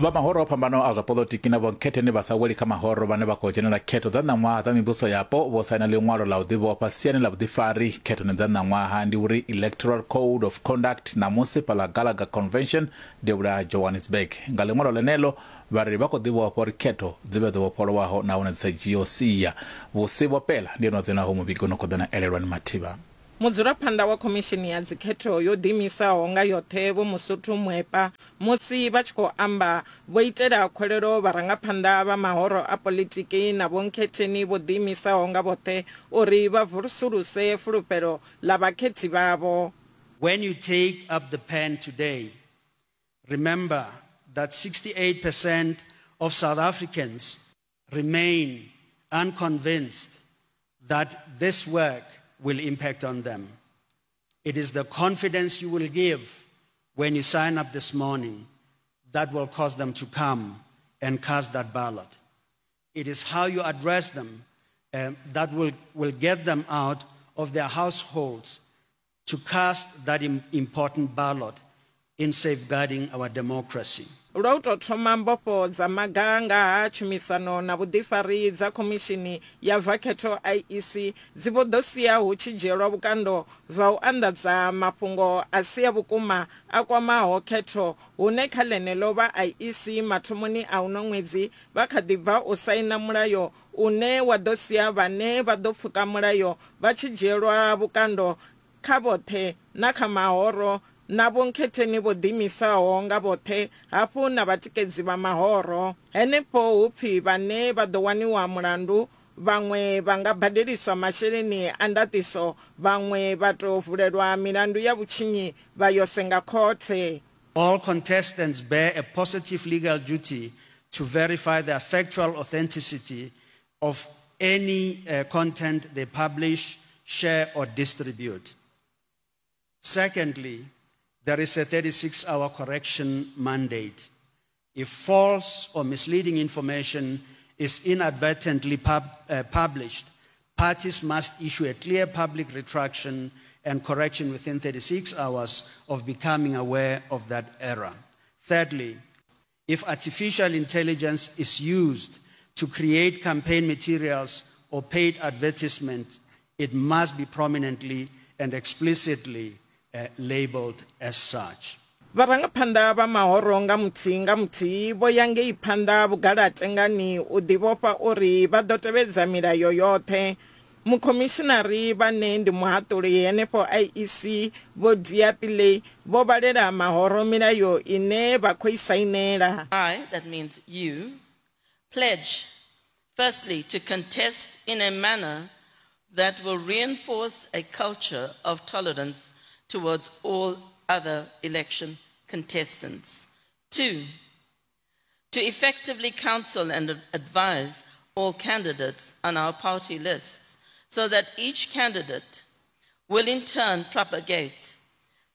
Vha mahoro o fhambanaho a zwa poḽotiki na vhonkhetheni vha sa weli kha mahoro vhane vha khou dzhenela khetho dza ṋaṅwaha dza mivhuso yapo vho saina ḽiṅwalo ḽa u ḓivhofha siani ḽa vhuḓifari khethoni dza ṋaṅwaha, ndi uri Electoral Code of Conduct, ṋamusi fhaḽa Gallagher Convention devhula ha Johannesburg. Nga ḽiṅwalo ḽeneḽo vha ri vha khou ḓivhofha uri khetho dzi vhe dzo vhofholowaho nahone dzi sa dzhiiho sia. Vhusi vho Pela ndi ene o dzenaho muvhigo no khou ḓa na Elelwani Mathivha. Mudzulaphanḓa wa Khomishini ya Dzikhetho yo Ḓiimisaho nga Yoṱhe Vho Mosotho Moepa musi vha tshi khou amba vho itela khuwelelo vharangaphanḓa vha mahoro a poḽitiki na vhonkhetheni vho ḓiimisaho nga vhoṱhe uri vha vusuluse fulufhelo ḽa vhakhethi vhavho. When you take up the pen today, remember that 68% of South Africans remain unconvinced that this work will impact on them. It is the confidence you will give when you sign up this morning that will cause them to come and cast that ballot. It is how you address them um, that will, will get them out of their households to cast that important ballot in safeguarding our democracy. Lwa u tou thoma, mbofho dza maga nga ha tshumisano na vhuḓifari dza Khomishini ya zwa Khetho, IEC, dzi vho ḓo sia hu tshi dzhielwa vhukando zwa u anḓadza mafhungo a si a vhukuma a kwamaho khetho hune kha ḽeneḽo vha IEC mathomoni a uno ṅwedzi vha kha ḓi bva u saina mulayo une wa ḓo sia vhane vha ḓo pfuka mulayo vha tshi dzhielwa vhukando kha vhoṱhe na kha mahoro na vhonkhetheni vho ḓiimisaho nga vhoṱhe hafhu na vhatikedzi vha mahoro. Henefho hu pfi vhane vha ḓo waniwa mulandu vhaṅwe vha nga badeliswa masheleni a ndaṱiso vhaṅwe vha tou vulelwa milandu ya vhutshinyi vha yo senga khothe. All contestants bear a positive legal duty to verify the factual authenticity of any uh, content they publish, share, or distribute. Secondly, there is a 36 hour correction mandate. If false or misleading information is inadvertently pub, uh, published, parties must issue a clear public retraction and correction within 36 hours of becoming aware of that error. Thirdly, if artificial intelligence is used to create campaign materials or paid advertisement, it must be prominently and explicitly uh, labeled as such. Vharangaphanḓa vha mahoro nga muthihi nga muthihi vho ya ngei phanḓa vhugalatengani u ḓivhofha uri vha ḓo tevhedza milayo yoṱhe. Mukhomishinari vhane ndi muhaṱuli henefho IEC Vho Dhia Pillay vho vhalela mahoro milayo ine vha khou i sainela. I, that means you, pledge, firstly, to contest in a manner that will reinforce a culture of tolerance towards all other election contestants. Two, to effectively counsel and advise all candidates on our party lists so that each candidate will in turn propagate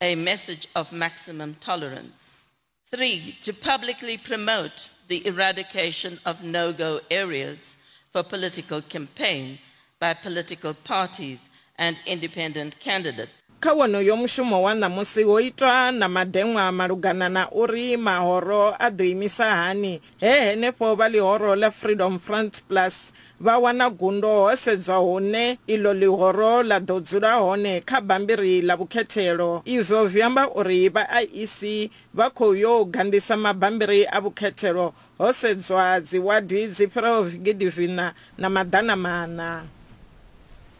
a message of maximum tolerance. Three, to publicly promote the eradication of no go areas for political campaign by political parties and independent candidates. Kha wonoyo mushumo wa ṋamusi ho itwa na madeṅwa malugana na uri mahoro a ḓo imisa hani he henefho vha ḽihoro ḽa Freedom Front Plus vha wana gundo ho sedzwa hune iḽo ḽihoro ḽa ḓo dzula hone kha bammbiri ḽa vhukhethelo. Izwo zwi amba uri vha IEC vha khou yo ganḓisa mabammbiri a vhukhethelo ho sedzwa dziwadi dzi fhiraho zwigidi zwiṋa na maḓana maṋa.